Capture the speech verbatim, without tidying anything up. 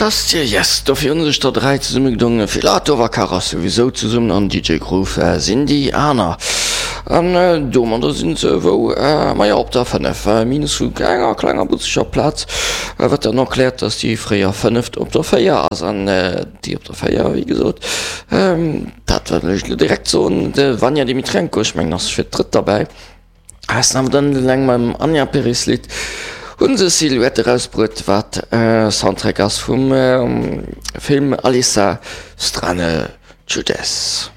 Just Yes, dofir hunn sech der dräi zesummegedongen, Filatov a Karas souwisou zesummen an D J Groove sinn déi aner. An domadder sinn se wou, majo op der fënnef, minus vu enger klenger butzeger Plaz, wat dann erkläert, dass déi fréier fënneft op der véier ass an déi op der véier, wéi gesot, dat wëll ech elo direkt soen, de Vanja Dimitrenko, ech mengen ass fir d'drëtt derbäi. Ass awer dann eleng mam Anja Pereslit hunn se Silhouette erausbruet, wat Soundtrack ass vum Film Alisa Strane Čudes.